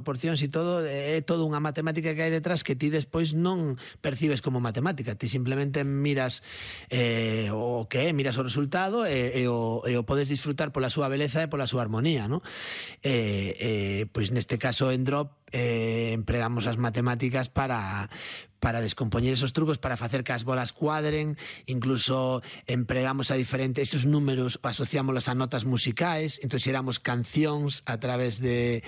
proporcións e todo, é todo unha matemática que hai detrás que ti despois non percibes como matemática, ti simplemente miras o que é, miras o resultado e o podes disfrutar pola súa beleza e pola súa armonía, ¿no? Pois neste caso en Drop empregamos as matemáticas para descompoñer esos trucos, para facer que as bolas cuadren, incluso empregamos esos números, asociámoslos a notas musicais, entón xeramos cancións a través de...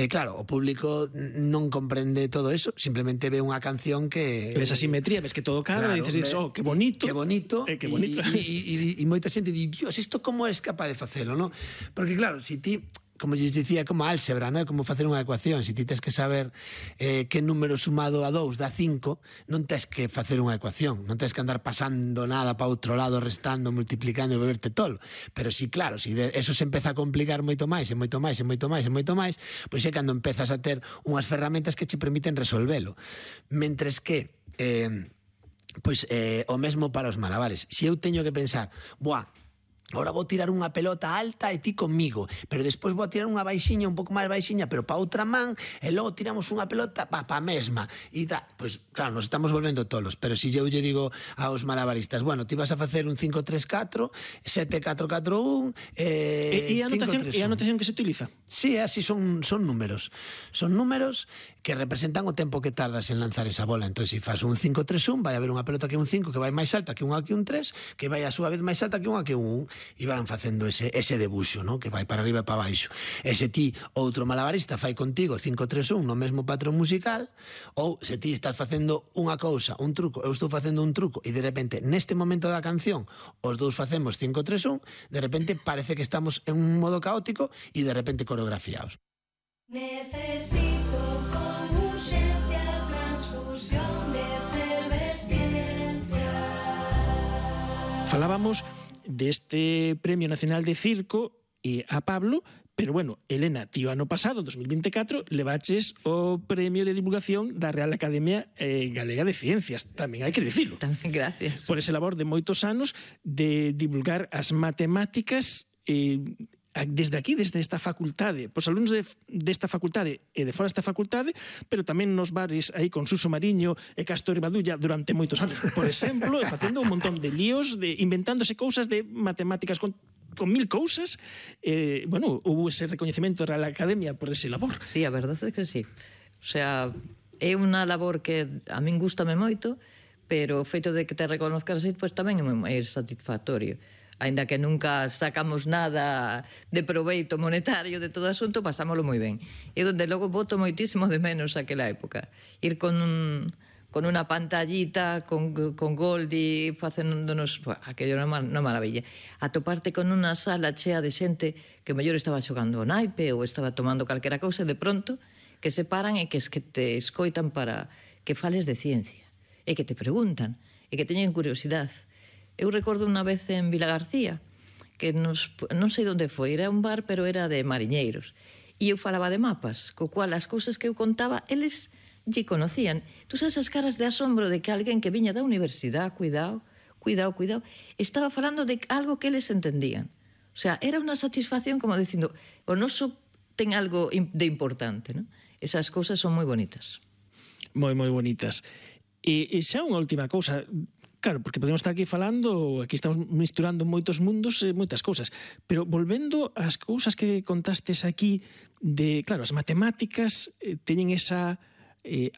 claro, o público non comprende todo eso, simplemente ve unha canción que... Ves a simetría, ves que todo cadra, claro, e dices, oh, que bonito. Que bonito. Que bonito. E moita xente di, Dios, isto como eres capaz de facelo, non? Porque claro, se ti... como lles dicía, como a álgebra, non? Como facer unha ecuación. Se ti tens que saber que número sumado a 2 dá 5, non tens que facer unha ecuación, non tens que andar pasando nada para outro lado, restando, multiplicando e volverte tolo. Pero si, claro, si eso se empeza a complicar moito máis, e moito máis, e moito máis, e moito máis, pois é cando empezas a ter unhas ferramentas que che permiten resolvelo. Mentres que, o mesmo para os malabares. Se eu teño que pensar, ahora vou tirar unha pelota alta e ti conmigo, pero despois vou tirar unha baixiña, un pouco máis baixiña, pero pa outra man, e logo tiramos unha pelota pa mesma. E pois, claro, nos estamos volvendo tolos, pero se eu lle digo aos malabaristas, bueno, ti vas a facer un 5-3-4, 7-4-4-1, 5-3-1. E a notación que se utiliza? Sí, así son números. Son números que representan o tempo que tardas en lanzar esa bola. Entón, se faz un 5-3-1, vai haber unha pelota que é un 5 que vai máis alta que unha que un 3, que vai a súa vez máis alta que unha que un 1. E van facendo ese debuxo, ¿no? Que vai para arriba e para baixo. E se ti, outro malabarista, fai contigo 5-3-1 no mesmo patrón musical, ou se ti estás facendo unha cousa, un truco, eu estou facendo un truco, e de repente, neste momento da canción, os dous facemos 5-3-1, de repente parece que estamos en un modo caótico e de repente coreografiados. Necesito con urxencia transfusión de efervesciencia. Falábamos deste Premio Nacional de Circo a Pablo, pero bueno, Elena, tío, ano pasado, 2024, levaches o Premio de Divulgación da Real Academia Galega de Ciencias, tamén hai que dicilo. Tamén, gracias. Por ese labor de moitos anos de divulgar as matemáticas desde aquí, desde esta facultade, pois alumnos desta facultade e de fora desta facultade, pero tamén nos bares aí con Suso Mariño e Castor e Badulla durante moitos anos, por exemplo, facendo un montón de líos, inventándose cousas de matemáticas con 1000 cousas. Bueno, hubo ese recoñecemento da Real Academia por ese labor. Sí, a verdade é que sí. O sea, é unha labor que a min gustame moito, pero o feito de que te reconozcan así, pois tamén é satisfactorio. Ainda que nunca sacamos nada de proveito monetario de todo o asunto, pasámoslo moi ben. E donde logo boto moitísimo de menos aquela época. Ir con unha pantallita, con Goldi, facéndonos... aquello era unha maravilla. Atoparte con unha sala chea de xente que mellor estaba xogando o naipe ou estaba tomando calquera cousa, de pronto, que se paran e que te escoitan para que fales de ciencia. E que te preguntan, e que teñen curiosidade. Eu recordo unha vez en Vila García, que non sei onde foi, era un bar, pero era de mariñeiros. E eu falaba de mapas, co cual as cousas que eu contaba, eles lle conocían. Tú sabes as caras de asombro de que alguén que viña da universidade, cuidado, estaba falando de algo que eles entendían. O sea, era unha satisfacción como dicindo, o noso ten algo de importante, non? Esas cousas son moi bonitas. Moi, moi bonitas. E xa unha última cousa. Claro, porque podemos estar aquí falando, aquí estamos misturando moitos mundos e moitas cousas, pero volvendo ás cousas que contastes aquí de, claro, as matemáticas teñen esa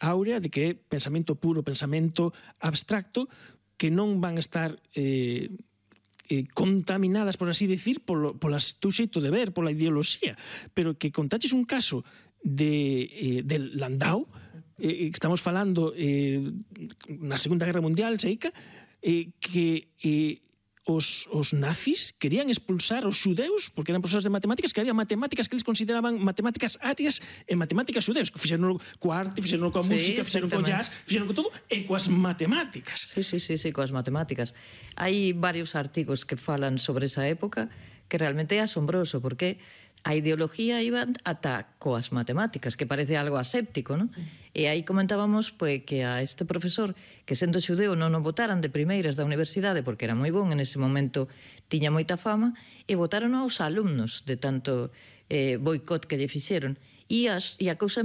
áurea de que é pensamento puro, pensamento abstracto, que non van a estar contaminadas, por así decir, pola teu xeito de ver, pola ideoloxía, pero que contaches un caso de Landau, estamos falando na Segunda Guerra Mundial, Seica, que os nazis querían expulsar os xudeus porque eran profesores de matemáticas, que había matemáticas que eles consideraban matemáticas arias e matemáticas xudeus, que fixeron coa arte, fixeron coa música, fixeron co jazz, fixeron co todo, e coas matemáticas. Sí, coas matemáticas. Hai varios artigos que falan sobre esa época que realmente é asombroso, porque a ideología iba ata coas matemáticas, que parece algo aséptico, non? E aí comentábamos que a este profesor, que sendo xudeu non o botaran de primeiras da universidade, porque era moi bon, en ese momento tiña moita fama, e botaron aos alumnos de tanto boicot que lle fixeron. E a cousa